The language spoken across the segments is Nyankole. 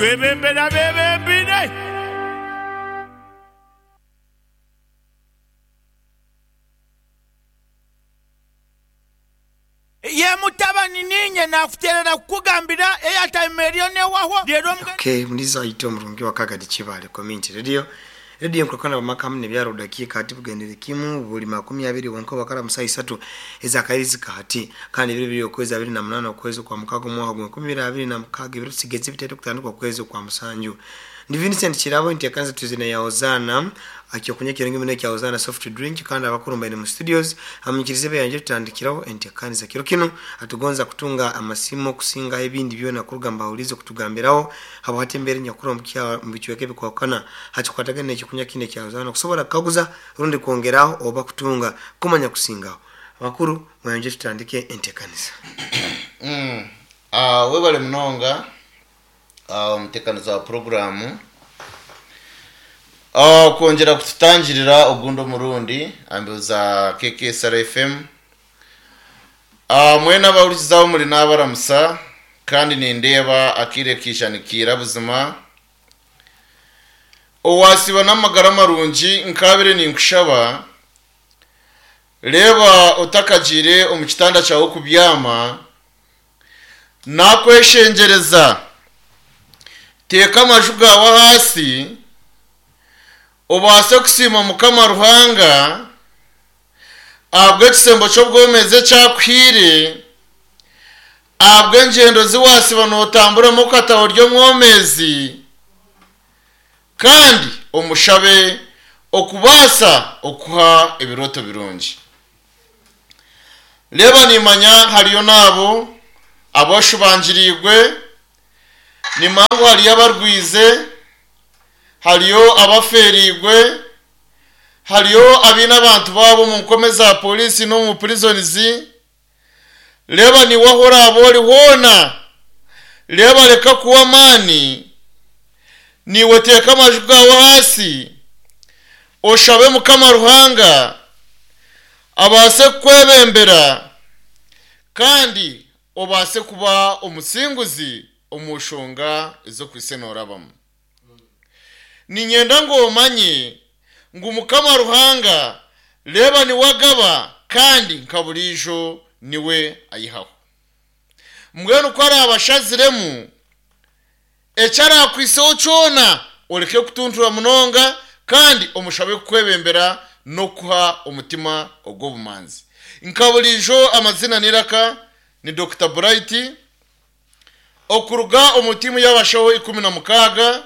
Twebembere abeebembeire. Ye mutabani, niinye naakuteerera kukugambira airtime eriyo neehwaho, reero mbwenu. Okay, mulizo aite omurungi wa Kagadi Kibaale Community Radio, Radio enkulakana bamaka hamu nebyaro dakiika hati bugendere kimu buli 20 wonka obakara mu saaha isatu ezakairizi kahati kandi ebiro biri okwezi 28 okwezi okwa mukaga omwaka gwa 2026 ebiro tusigeze bitaito kutandika okwezi okwa musanju. Ndi Vincent Kirabo enteekaniza tuzina ya Hosanna Ekyokunywa ekirungi muno ekya Hosanna Soft Drink kandi abakuru mbaine mu studios amunyikirize beyangye tutandikiraho entekaniza kiro kinu. Atugonza kutunga amasimu kusingaho ebindi byona kuruga mubahuriize kutugambiraho habwahati embeera enyakuri omu bicweka ebikwahukana hakikwatagana n'ekyokunywa kinu ekya Hosanna kusobora kukaguza rundi kwongeraho oba kutunga kumanya kusingaho. Abakuru mweyongye tutandike entekaniza. Webale munonga. Omuteekaniza wa puroguraamu kwongyera kututangirira ogundi omurundi aha mbeho za KKSR FM. Mwena abahurikize ahu muri naabaramusa kandi nindeeba akaire kaija nikaira buzima. Owaasiiba n'amagara marungi nkaabaire ninkushaba, reeba otakagiire omu kitanda kyawe kubyama, Naakweshengyereza, teeka amaju gaawe ahaasi, obaase kusiima Mukama Ruhanga ahabw'ekisembo ky'obwomeezi eki akuhaire, ahabw'engyendo zi waasiba nootamburamu okataha ori omwomeezi, kandi omushabe okubaasa okuha ebirooto birungi. Reeba niimanya hariyo n'abo abashubangiriirwe, nimanya ngu hariyo abarwize, hariyo abafeereirwe, hariyo abaine abantu baabo omu nkome za poriisi n'omu prisons. Reeba naiwe ahu oraabe ori hoona, reeba reka kuhwa amaani, naiwe teeka amaju gaawe ahaasi, oshabe Mukama Ruhanga abaase kukwebembera kandi obaase kuba omusinguzi omu nshonga ezi okwaitse noorabamu. Niinyenda ngu omanye ngu Mukama Ruhanga reeba niwe agaba kandi nka buriijo niwe aihaho. Mbwenu ku araabe ashaziremu, eki araakwiseho kyona oreke kutuntura munonga kandi omushabe kukwebembera n'okukuha omutima ogw'obumanzi. Nka buriijo amaziina n'eiraka ni Dokita Bright. Okuruga omu tiimu y'abashaho 16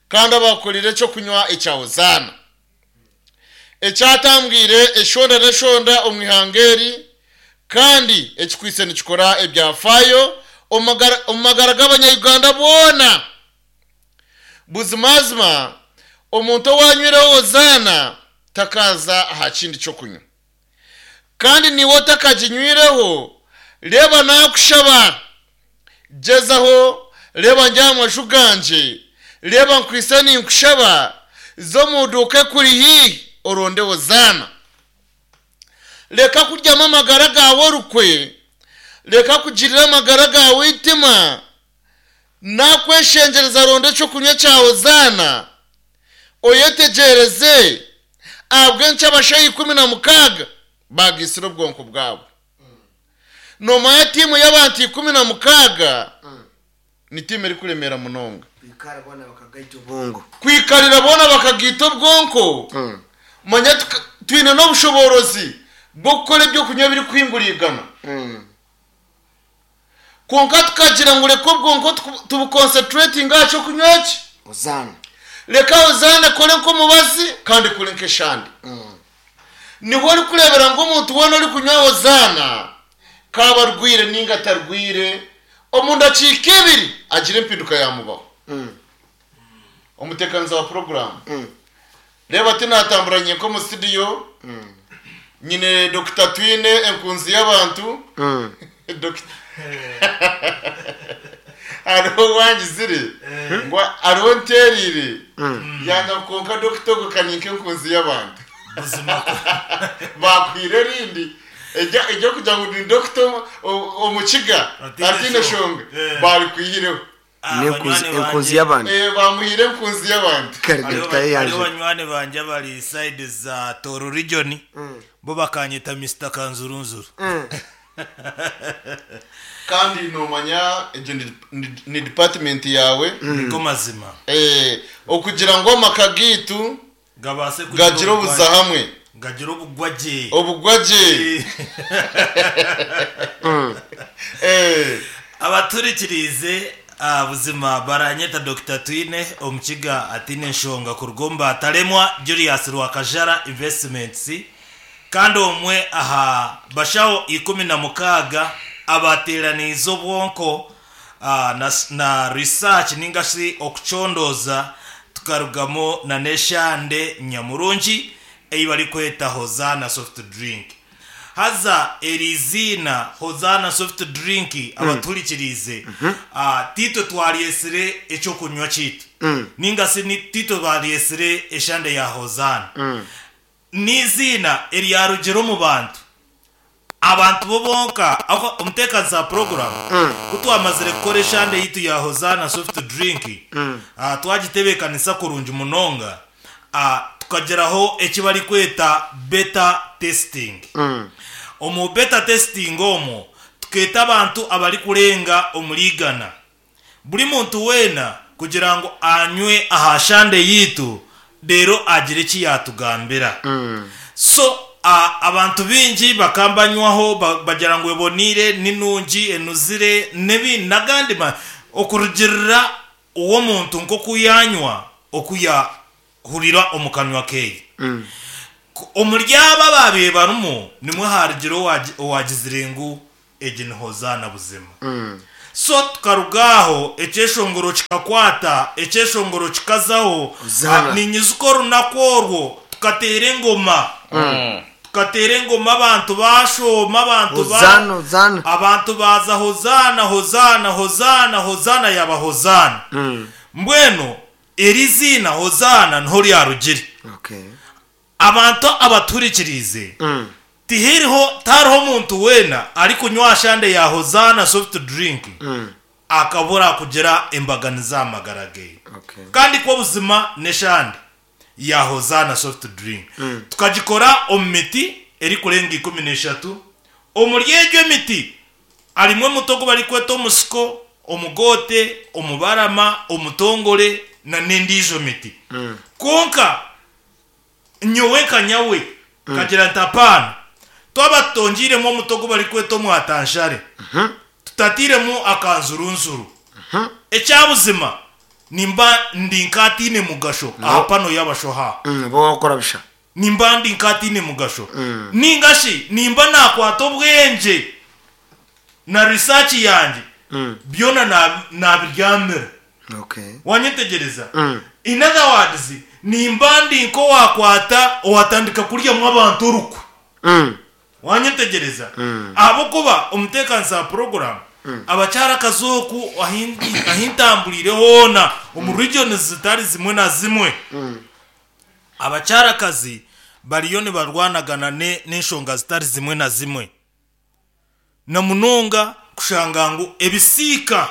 kandi abaakorire eky'okunywa ekya Hozaana ekyatambwire eshonda n'eshonda omu ihanga eri kandi ekikwaitse nikikora ebyafaayo omu magara g'abanya-Uganda boona. Buzimazima omuntu owaanywireho Hozaana takaaza aha kindi ky'okunywa. Kandi naiwe otakaginywireho, reeba naakushaba, gyezaho, reeba ndi aha maju gangye, reeba nkwaitse ninkushaba, za omu duuka ekuri haihi oronde Hozaana. Reka kuryamu amagara gaawe orukwe, reka kugirira amagara gaawe eitima, naakweshengyereza ronda eky'okunywa kya Hozaana. Oyetegyereze ahabw'enki abashaija 16 baagaitsire obwonko bwabo. Noomanya tiimu y'abantu 16 ni tiimu erikuremeera munonga. Kwikarira boona bakagaita obwonko, manya twine n'obushoboorozi bw'okukora eby'okunywa ebirikuhingurigana. Kwonka tukagira ngu reka obwonko tubuconcentratinge aha ky'okunywa eki. Hozaana. Reka Hozaana ekore nk'omubazi kandi ekore nk'eshande. Niho orikureebera ngu omuntu weena orikunywa Hozaana, k'abe arwaire nainga atarwaire, omu ndakiika ibiri agira empinduka yaamubaho. Omuteekaniza wa puroguraamu. Reeba tinaatambura nyenka omu situdiyo, nyine Dokita Twine enkunzi y'abantu. Dokita hariho owangizire ngu hariho ntereire yanga ngu kwonka dokita ogwo ka ninka enkunzi y'abantu. Buzima kwo. Baakuhaire erindi erya- ery'okugira ngu ni dokita omu- omukiga Ataine ataine shonga. shonga, baarikwihireho. Ah, N'enkunzi banywani enkunzi bangye. y'abantu. Eh, bamuhire enkunzi y'abantu. Kare Hariho Dr. hariho Yanje. banywani bangye abari side za Toro region bo bakanyeta Mr Kanzurunzuru. Kandi nomanya egyo ni- ni- ni department yawe. Niko mazima. Eh, okugira ngu amaka gaitu Gabaase kugira gagira obuza hamwe. Gagira obugwagye. Obugwagye. Eh, Abaturikiriize ah, buzima baranyeta Dr. Twine omukiga atine enshonga kuruga omu Bataremwa Julius Rwakajara Investments kandi omwe aha bashaho 16 abateeraniize obwonko ah, na, na research ninga shi okucondooza tukarugamu na n'eshande nyamurungi ei barikweta Hosanna soft drink. Haza eri iziina Hosanna soft drink abaturikiriize ah, titwe twaryesire ekyokunywa kiitu ninga si ni- titwe twaryesire eshande ya Hosanna n'iziina eryarugire omu bantu abantu bo bonka aho omuteekazi za program ku twamazire kukora eshande yitu ya Hosanna soft drink ah, twagitebeekanisa kurungi munonga ah, tukageraho eki barikweta beta testing. Omu beta testing omwo tukeeta abantu abarikurenga omuri igana buri muntu weena kugira ngu anywe aha shande yitu rero agire eki yatugambira. So abantu bingi bakambanywaho bagira ngu ebonire ninungi enuzire nebi nagandi okurugirira uwo muntu nkoku yanywa okuyahurira omu kanwa keye. Omuri aba babiire barimu nimwe harugira owagizire ngu egi ni Hosanna buzima. So tukaruga aho ekyeshongoro kikakwata ekyeshongoro kikazaho. Hosanna. Ah, ninyizuka orunaku orwo tukateera engoma tukateera engoma abantu bashoma abantu ba Hosanna, Hosanna. abantu baza Hosanna Hosanna Hosanna Hosanna yaba Hosanna. Mbwenu eri ziina Hosanna niho ryarugire. Okay. Abantu abaturikiriize tihiriho tariho omuntu weena arikunywa shande ya Hosanna soft drink akabura kugira embaganiza amagara ge. Okay. Kandi ko buzima n'eshande ya Hosanna soft drink tukagikora omu miti erikurenga 13 omuri egyo emiti harimwo omuti ogu barikweta omusiko omugote omubarama omutongore na n'endiijo miti. Konka nyowe nka nyawe kagira nti apaana twaba tutongiremu omuti ogu barikweta omwatanshare tutatiremu akanzurunzuru ekyabuzima nimba ndi nkatiine mugasho aha pano y'abashoha. Bo wakora bisha. Nimba ndi nkatiine mugasho ningashi nimba nakwata obwengye na research yange byona nabiryamira. Okay. Wanyetegereza? In other words nimba ndi nko wakwata owatandika kuryamu abantu orukwe. Wanyetegereza? Ahabwokuba omuteekanisa wa program abakyara akazooku ahintamburiire hoona omu regions zitari zimwe na zimwe abakyarakazi bariyo nibarwanagana n'enshonga zitari zimwe na zimwe na munonga kushanga ngu ebisiika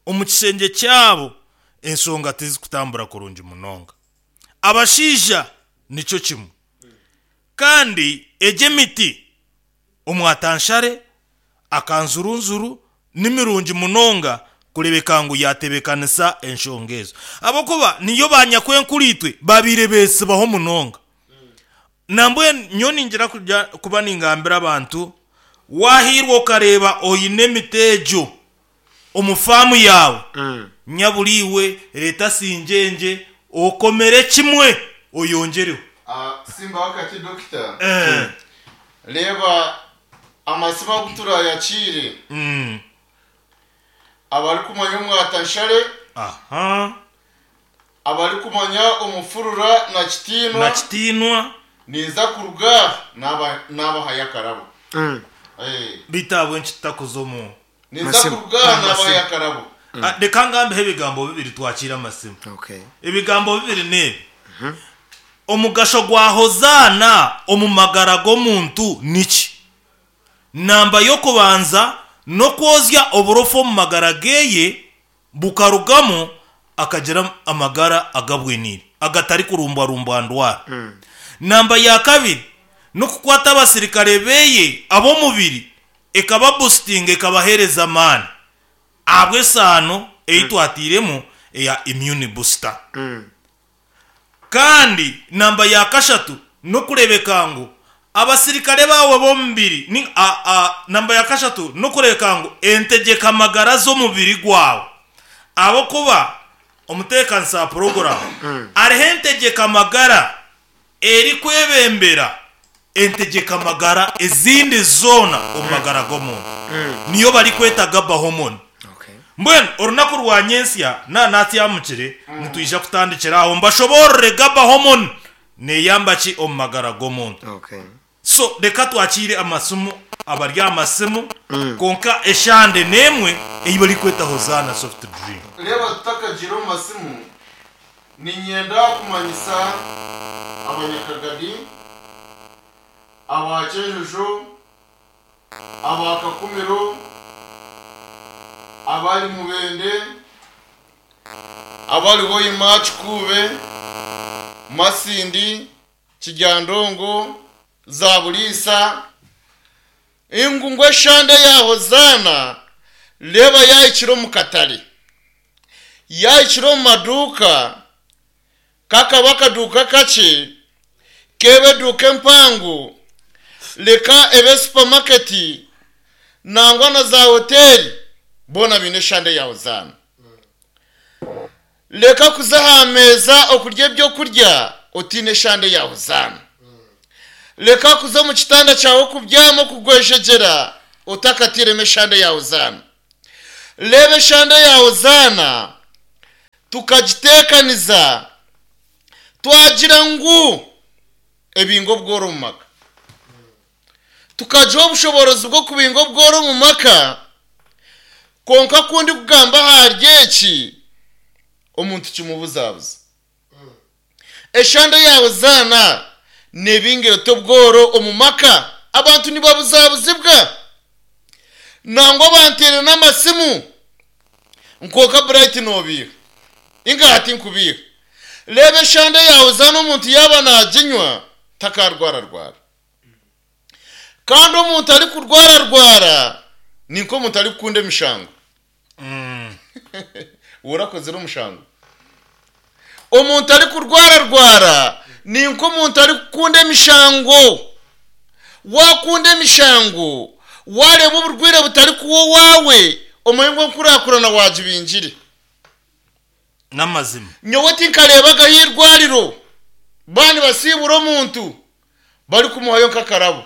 omu kishengye kyabo enshonga tizikutambura kurungi munonga. Abashaija nikyo kimwe kandi egyo emiti omwatanshare akanzurunzuru nimirungi munonga kurebeka ngu yatebekanisa enshonga ezo ahabwokuba niyo banyakwenkuritwe babiire beesibaho munonga. Nambwe nyo ningira kujya kuba ningambira abantu wahirwa okareba oine emiti egyo omu faamu yaawe nyaburiiwe leta sinjenje okomere kimwe oyongereho. Ah, simba wakati dokita. Eh, Reba amasimu agu turayakire. Abarikumanya omwatanshare aha abarikumanya omufurura na kitiinwa na kitiinwa ninza kuruga nabahayo akarabo. Eh, bitabwe nkitakuza omu ninza Masimu. kuruga nabahayo akarabo. Ah, reka ngambeho ebigambo bibiri twakire amasimu. Okay. Ebigambo bibiri nibi omugasho gwa Hosanna omu magara g'omuntu niki? Namba y'okubanza n'okwozya oburofu omu magara geye Bukarugamu akagira amagara agabwiniire agatarikurumbwarumbwa ndwara. Namba ya kabiri n'okukwata abasirikare beye ab'omubiri ekababusitinga ekabaheereza amaani ahabw'esaano ei twatairemu eya immune booster. Kandi namba ya kashatu n'okureebeka ngu abasirikare baawe b'omubiri ni a a namba ya kashatu n'okureebeka ngu entegyeka magara z'omubiri gwawe ahabw'okuba omuteekanisa wa puroguraamu hariho entegyeka magara erikwebembera entegyeka magara ezindi zoona omu magara g'omuntu niyo barikweta GABA hormone. Mbwenu orunaku rwa nyentsya na natyamukire nitwija kutandikira aho mbashoboorore GABA hormone neeyamba ki omu magara g'omuntu. So reka twakiire amasimu abari aha masimu kwonka eshande n'emwe ei barikweta Hozaana Soft Drink. Reeba tutakagiire omu masimu, niinyenda kumanyisa Abanyakagadi, aba Kyenjojo, aba Kakumiro, abari Mubende, abari Hoima, Kikuube, Masindi, Kiryandongo, Zaburiisa, ngu ngu eshande ya Hozaana reeba yaahikire omu katare, yaahikire omu maduuka, kakaba akaduuka kakye, keebe eduuka empango, reka ebe supamaketi, nangwa na zaahoteeri, boona baine eshande ya Hozaana. Reka kuza aha meeza okurya ebyokurya otaine eshande ya Hozaana. Reka kuza omu kitanda kyawe okubyama okugwejegyera otakatairemu eshande ya Hozaana. Reeba eshande ya Hozaana tukagiteekaniza twagira ngu ebinga obworo omu maka. Tukagiha obushoboorozi bw'okubinga obworo omu maka, kwonka ku ndikugamba ahari eki, omuntu kimubuzabuza. Eshande ya Hozaana neebinga eta obworo omu maka? Abantu nibabuzabuzibwa. Nangwa banteire n'amasimu nkwonka Bright noobiiha. Inga hati nkubiiha. Reeba eshande ya Hozaana omuntu yaaba naaginywa takaarwararwara. Kandi omuntu arikurwararwara ni nk'omuntu arikukunda emishango. Orakozire omushango? Omuntu arikurwararwara ni nk'omuntu arikukunda emishango. Waakunda emishango, waareeba oburwaire butarikuba owaawe, omanye ngu enkurakurana waagibingire. N'amazima. Nyowe tinkareebagaho eirwariro baaba nibasiibura omuntu barikumuhayo nk'akarabo.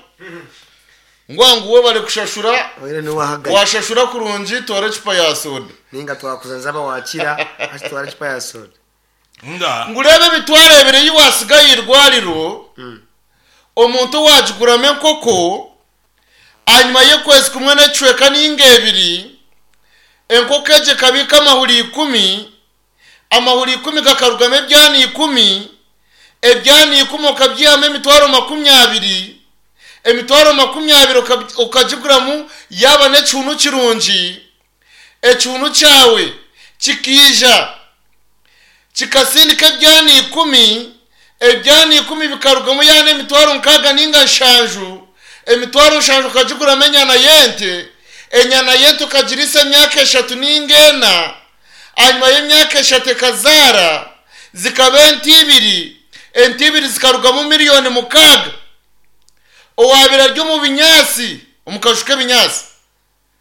Ngu aha ngu webare kushashura, Oire niwe wahagayo. washashura kurungi twara ecupa ya soda. Ninga twakuza nzaba wakira hati twara ecupa ya soda. Nga. Ngu reeba ebi twareebire ei watsiga aha irwariro, omuntu owagiguramu enkoko, Ahanyima y'okwezi kumwe n'ekicweka ninga ebiri, enkoko egyo ekabiika amahuri ikumi, amahuri ikumi gakarugamu ebyana ikumi, ebyana ikumi okabyihamu emitwaro 20, emitwaro 20 okagiguramu yaaba n'ekihuunu kirungi, ekihuunu kyawe kikaija Kikasindika ebyana ikumi, ebyana ikumi bikarugamu yaana emitwaro nkaaga nainga nshanju, emitwaro nshanju okagiguramu enyana y'ente, enyana y'ente okagiriisa emyaka eshatu nainga ena, ahanyima y'emyaka eshatu ekazaara, zikaba ente ibiri, ente ibiri zikarugamu miriyoni mukaaga. Owaabaire ari omu binyaatsi, omu kaju k'ebinyaatsi,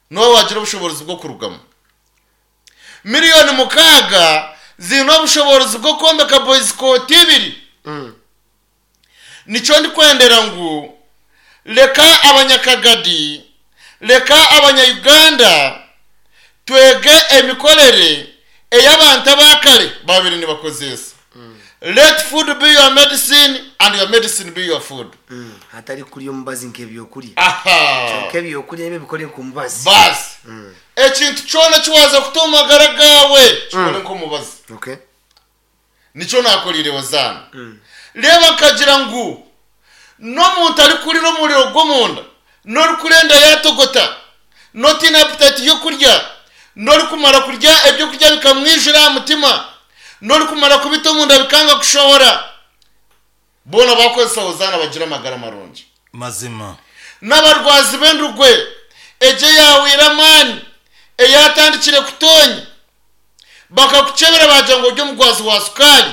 niwe waagira obushoboorozi bw'okurugamu. Miriyoni mukaaga ziine obushoboorozi bw'okwombeka boyizikooti ibiri. Nikyo ndikwendera ngu reka Abanyakagadi, reka Abanya-Uganda twege emikorere ei abantu aba kare baabaire nibakozeesa. Let food be your medicine and your medicine be your food. Hatari kurya omubazi nk'ebyokurya. Aha. Kyonka ebyokurya nibyo bikore nk'omubazi. Baasi. Ekintu kyona eki waaza kuta omu magara gaawe kikore nk'omubazi. Okay. Nikyo naakoreire Hozaana. Reeba nkagira ngu n'omuntu arikurira omuriro gw'omunda, n'orikurenda yaatogota, n'otaine aputayiti y'okurya, N'orikumara kurya ebyokurya bikamwijura aha mutima, n'orikumara kubita omunda bikanga kushohora, boona baakozesa Hozaana bagira amagara marungi. Mazima. N'abarwazi b'endugwe, egyo eyaahweire amaani, eyaatandikire kutonya, bakakukyebera baagira ngu ori omurwazi wa sukaari,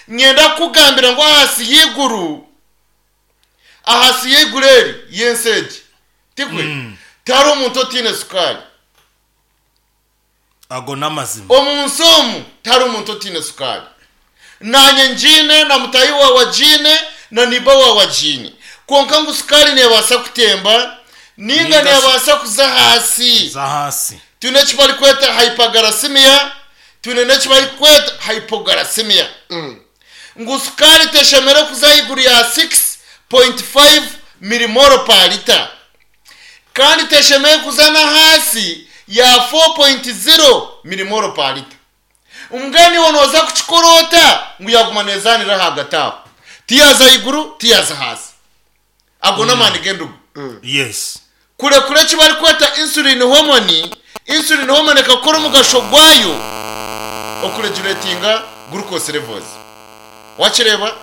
nyenda kukugambira ngu ahansi y'eiguru, ahansi y'eiguru eri, y'ensi egi, tikwe? Tihariho omuntu otaine sukaari. Ago n'amazima. Omu nsi omu tihariho omuntu otaine sukaari. Naanye ngiine, na mutaahi waawe agiine, na neiba waawe agiine. Kwonka ngu sukaari neebaasa kutemba nainga Nainga shi- neebaasa kuza ahansi. Kuza ahansi. Twine eki barikweta hyperglycemia, twine n'eki barikweta hypoglycemia. Ngu sukaari teshemereire kuza ahaiguru ya 6.5 millimole per litre. Kandi teshemereire kuza n'ahansi ya 4.0 milimolo pa lita. Mbwenu iwe nooza kukikora ota ngu yaaguma neezaanira ahagati aho? Tiyaaza ahaiguru, tiyaaza ahansi. Ago n'amaani g'endugu. Yes. Kurekura eki barikweta insulin hormone, insulin hormone ekakora omugasho gwayo okureguletinga glucose levels. Wakireeba?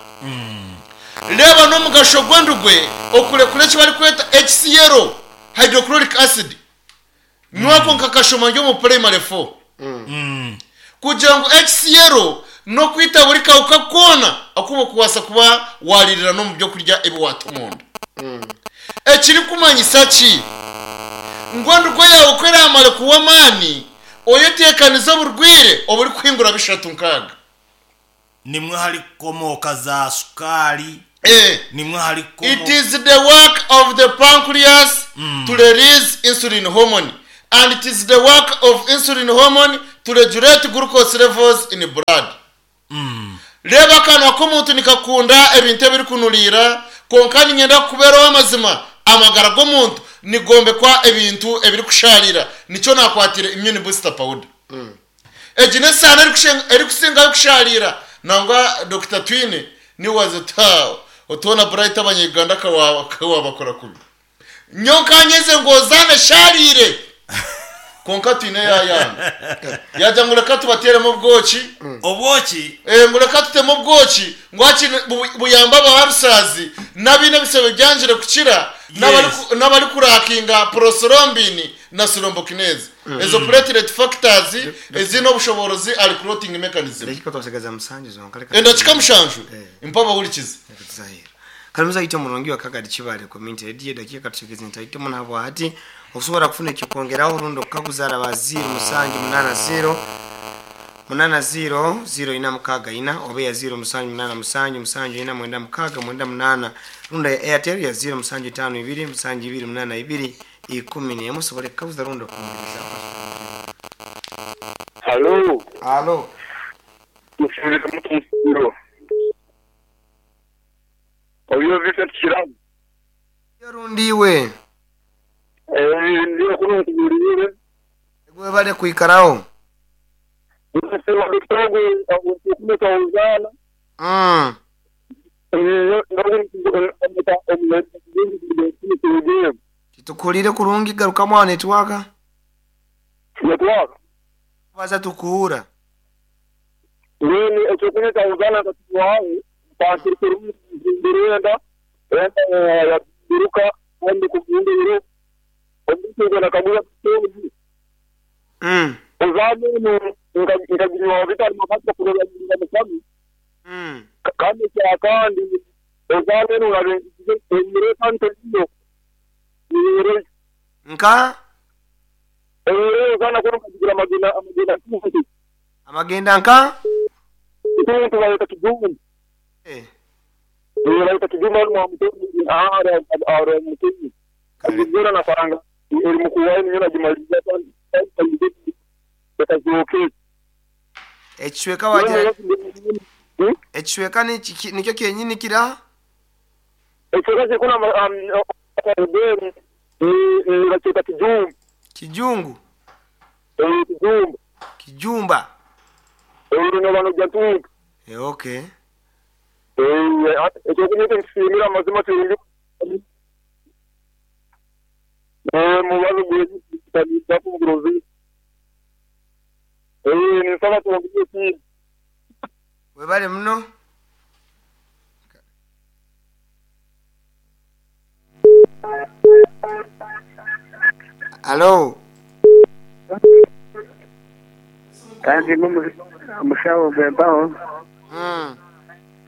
Reeba n'omugasho gw'endugwe okurekura eki barikweta HCl, hydrochloric acid. Nyowe ako nkakashoma ndi omu primary four. Kugira ngu HCl n'okwita buri kahuka koona aku orikubaasa kuba waariirira n'omu by'okurya ebi waata omunda. Ekirikumanyisa ki? Ngu endugwe yaawe ku eraamare kuhwa amaani, oyeteekanize oburwaire oburikuhingura bishatu nkaaga. Nimwo harikukomooka za sukaari, Eh. nimwo It harikukomooka. is the work of the pancreas to release insulin hormone and it is the work of insulin hormone to regulate glucose levels in blood. Reeba akanwa k'omuntu nikakunda ebintu ebirikunuriira, kwonka niinyenda kukubeera ow'amazima, amagara g'omuntu nigombekwa ebintu ebirikushaarira, nikyo naakwatiire immune booster powder. Egi n'esaano erikusingayo kushaariira nangwa Dokita Twine niwe waaza oti haa otoona Bright abanya-Uganda kawaabakora kubi. Nyowe nkanyeze ngu ozaana eshaariire kwonka Twine yaayanga. Yaagira ngu reka tubateeremu obwoki. Obwoki? Ngu reka tutemu obwoki ngu hakiri buyambe abaharusaazi n'abaine ebisebe byangire kukira n'abarikurakinga prothrombin na thrombokinase. Ezo platelet factors eziine obushoboorozi ahari clotting mechanism. Edakika twasigaza musanju zonka reka Edakika mushanju? Eh. Mpa abahurikize. Reka tuze aheeru. Kare muzaito murungi wa Kagadi Kibale Community Radio edakika tusigaze ntaito muno habwahati okusobora kufuna ekyokwongeraho rundi okukaguza araba 0 musanju munana 0 munana 0 0 ina mukaaga ina oba eya 0 musanju munana musanju musanju ina mwenda mukaaga mwenda munana rundi eya Airtel ya 0 musanju itaano ibiri musanju ibiri munana ibiri 11 osobole kukaguza rundi okuhumuriza. Halo. Halo. Musinzire muta Omusiiro? Oyo Vincent Kirabo. Yo rundi iwe. Eh, ndi kunu nkubuulire. Webale kwikaraho. Nkusaba Dokita ogwo okumeka ozaana. Titukuhuriire kurungi garukamu aho netiwaaka. Netiwaaka? Baza tukuhuura. Mbwenu eky'okunyeta Uganda nka tuwahe enda enda yabiruka kandi kubindiro omuntu nakaguza kutonzi. Ozamunu nkagiriwa bitari makati kurora mukabi. Kandi kyakandi ozamunu urabengize emire kandi iyo. Emire Nka? Emire ozana kono kagira amagenda amagenda tuntu. Amagenda nka? Tuntu bayita kijumba. Eh. Bayita kijumba mu mutuntu ara ara mutuntu. Kugura na faranga eri mukuwaye niyo nagimaliza kandi bakazoke. Ekicweka wagira ekicweka nikyo kyenyini kira? Ekicweka kiri kuna ni bakita kijumba. Kijungu? Eh, kijumba. Kijumba. Eh, no bano jatunga. Eh, okay. Eh, ekyo kunyita nkisimira amazima tuyingi. Eh, mubazo gwe tabiza kuburozi. Eh, ninsaba twongere ekindi. Webale muno. Halo. Kandi n'omushaho gw'empaho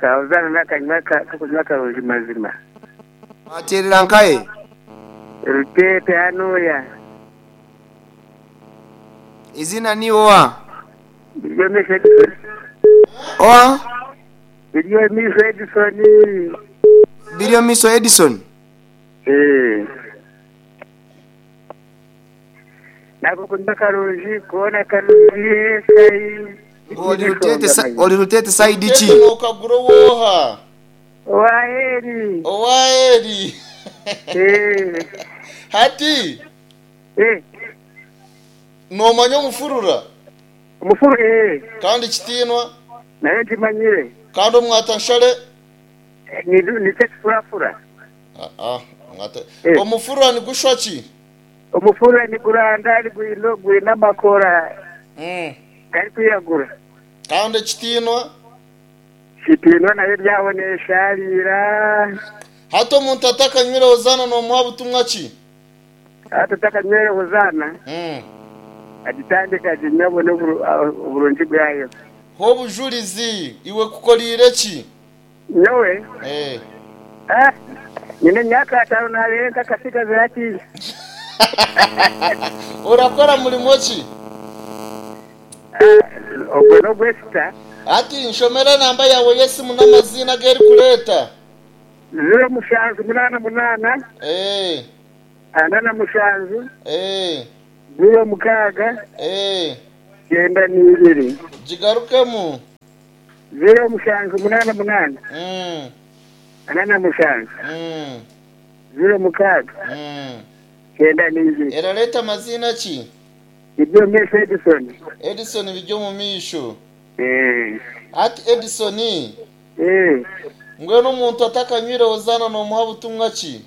kabuzaana n'akanywa k'okunywa karungi mazima. Wateerera nkahe? Ruteete hanuya. Eiziina niiwe oha? Biryomisho Edison. Oha? Biryomisho Edison. Biryomisho Edison? Eeh. N'ak'okunywa karungi koona karungi sai. Ngu ori Ruteete sa- ori Ruteete sayidi ki? Ruteete nookagura ow'oha? Owa Eri. Owa Eri. Eeh. Hati Eh. noomanya omufurura? Omufuru eeh. Kandi kitiinwa? Nayo ngimanyire. Kandi omwatanshare? Nikyo ekifurafura. Aa, omwata. Omufurura nigushwa ki? Omufurura niguranda gwine amakora garikwiragura. Kandi ekitiinwa? Kitiinwa nayo eryaho neeshaariira. Hati omuntu atakanywire Hozaana noomuha butumwa ki? Hati otakanywire Hozaana, agitandike aginywe abone oburungi bwayo. Ha obujurizi, iwe ekukoreire ki? Nyowe? Ee. Ah, nyine emyaka ataano naabeire ntakatsigazire hatiiya. Orakora murimo ki? Ah, ogwo n'ogwesita. Hati nshomera enamba yaawe y'esimu n'amaziina agu erikureeta. 07 88. Ee. 47. Ee. 06. Ee. 92. Gigarukemu. 07 88. 47. 06. 92. Erareeta amaziina ki? Biryomumaisho Edison. Edison Biryomumaisho. Eeh. Hati Edison. Eeh. Mbwenu omuntu atakanywire Hozaana nomuha butumwa ki?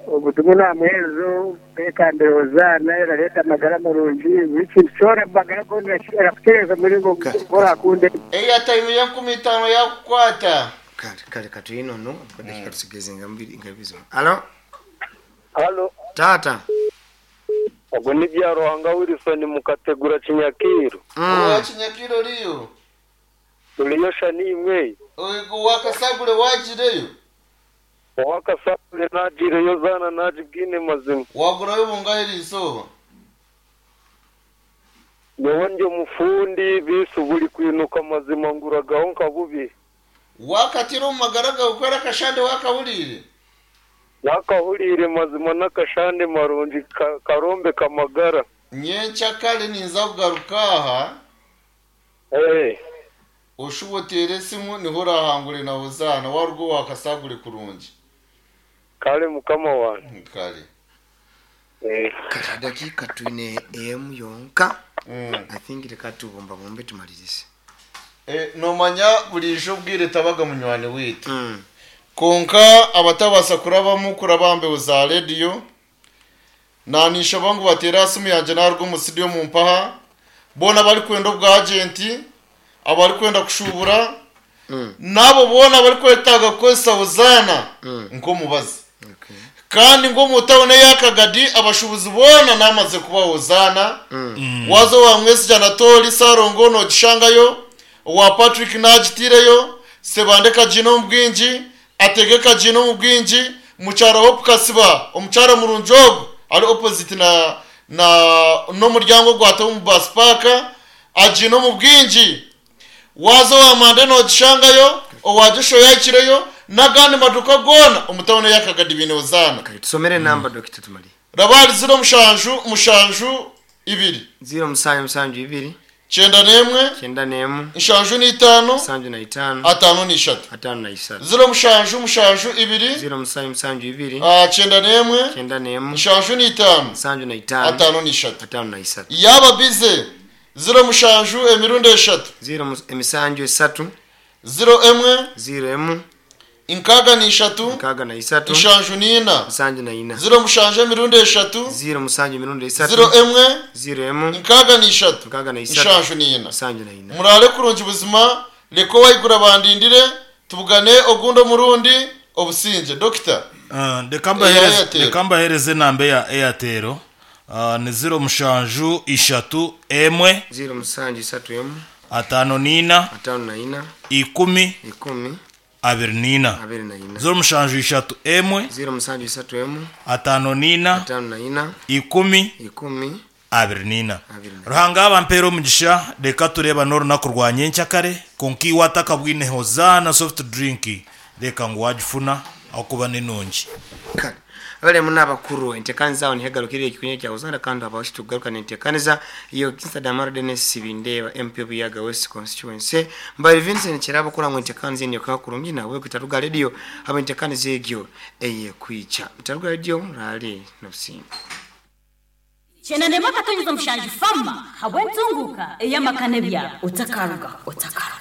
Obutumwa namuheereza kwekambira Hozaana erareeta amagara marungi buri kintu kyona omu magara goona erakutereeza omu muringo ogu orakunde. Airtime y'enkumi itaano yaakukwata. Kale kale katwine onu edakika tusigaize nka mbiri nka ibiri zonka. Halo. Halo. Taata. Ogwo ni Byaruhanga Wilson Mukategura Kinyakiiro. Owa Kinyakiiro oriyo? Turiyo sha niimwe. Owa Kasagure waagiireyo? Owa Kasagure naagiireyo zaana naagibwine mazima. Waagurayo bungahi eriizooba? Nyowe ndi omufundi beitu buri kwinuka mazima nguragaho nka bubiri. Waakatira omu magara gaawe ku ari akashande waakahuriire? Naakahuriire mazima n'akashande marungi karombeka amagara. Nyenkyakare ninza kugaruka aha, oshube oteere esimu niho oraahangure na Hozaana waaruga owa Kasagure kurungi. Kare mukama wangye. Kare. Kare edakiika twine emu yonka. I think reka tubumbabumbe tumaririze. Noomanya buriijo obwire tabaga munywani waitu. Kwonka abatabaasa kurabamu kuraba aha mbeho za rediyo, naaninshaba ngu bateere aha simu yangye naaruga omu situdiyo mumpaha. Boona abarikwenda obwajenti, abarikwenda kushuubura, n'abo boona abarikwetaaga kukozesa Hozaana nk'omubazi. Kandi ngu omu tauni eya Kagadi abashuubuzi boona naamaze kubaha Hozaana. Waaza owa Mwesigye Anatoli, Ssalongo noogishangayo, owa Patrick naagitaireyo, Sebande kagiine omu bwingi, Atege kagiine omu bwingi, Mukyara Hope Kasiba, omukyara murungi ogwo ari opposite na na n'omuryango ogwata omu bus park agiine omu bwingi. Waaza owa Mande noogishangayo, owa Joshua yaahikireyo, n'agandi maduuka goona omu tauni eya Kagadi baine Hozaana. Kare tusomere enamba Dokita tumare. Raba ahari ziro mushanju mushanju ibiri. Ziro musanju mushanju ibiri. 91. 91. 75. 75. 53. 53. Ziro mushanju mushanju ibiri. Ziro musanju mushanju ibiri. 91. 91. 75. 75. 53. 53. Yaaba bize, ziro mushanju emirundi eshatu. Ziro emisanju esatu. Ziro emwe. Ziro emu. 63 63 74 74 07 emirundi eshatu 07 emirundi esatu 01 0 63 63 74 74. Murare kurungi buzima, reka owayigura bandindire, tubugane ogundi omurundi obusinge dokita. Reka mbahereze- Airtel. Reka mbahereze enamba ya Airtel. Ni 07 3 1 07 3 1 54 54 10 10 24. 24. 07 3 1 07 3 1 54 54 10 10 24. 24. Ruhanga abampeera omugisha, reka tureba n'orunaku rwa nyenkyakare. Konka iwe atakabwine Hozaana soft drink, reka ngu wagifuna ahakuba n'enungi. Kale abalemu n'abakuru, entekaniza aho nihegarukire ekikunye kya Uzanda, kandi abawashi tugaruka nentekaniza iyo Kinsa Damaro Dennis Sibindeba, MP Buyaga West constituency, Mbali Vincent Kirabo kula ngo entekaniza eniyo kakurungi nawe kutaruga radio abo entekaniza egyo eye kwicha mutaruga radio rali nobusinga. 97.7 fama habwe ntunguka eyamakane byabo utakaruga utakaruga.